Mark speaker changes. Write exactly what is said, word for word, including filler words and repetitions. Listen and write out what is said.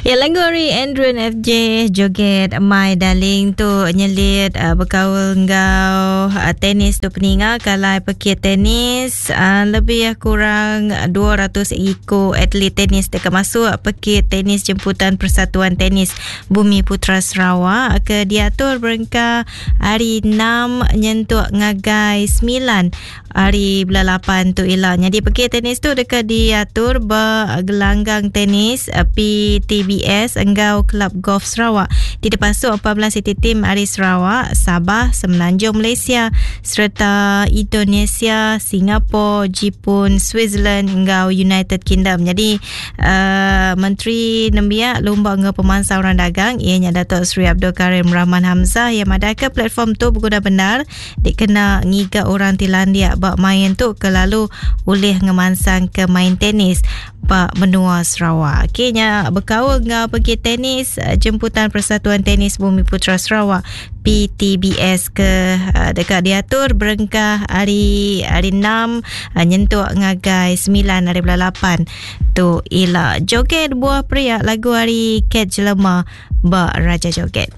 Speaker 1: Ya lagu ari Andrew F J Joget My Darling tu nyelit uh, berkaul enggau uh, tenis tu peninga kalai pekit tenis uh, lebih kurang dua ratus iko atlet tenis dekat masuk pekit tenis jemputan Persatuan Tenis Bumi Putra Sarawak ke diatur berengka hari enam nyentuk ngagai sembilan hari bulan lapan tu ila. Jadi pekit tenis tu dekat diatur bergelanggang tenis P T B S enggau Kelab Golf Sarawak. Di depan su empat belas city team ari Sarawak, Sabah, Semenanjung Malaysia serta Indonesia, Singapura, Jepun, Switzerland enggau United Kingdom. Jadi uh, Menteri Nembiak Lumba Enggau Pemansang Orang Dagang ianya Datuk Seri Abdul Karim Rahman Hamzah yang ada ke platform tu berguna benar dikena ngiga orang Tilandia bak main tu ke lalu ulih ngemansang ke main tenis bak menua Sarawak. Okeynya berkaul dengan pergi tenis jemputan Persatuan Tenis Bumi Putra Sarawak P T B S ke dekat diatur berengkah hari hari enam nyentuk ngagai sembilan hari bulan lapan tu ila. Joget buah pria lagu hari Cat Jelema bak Raja Joget.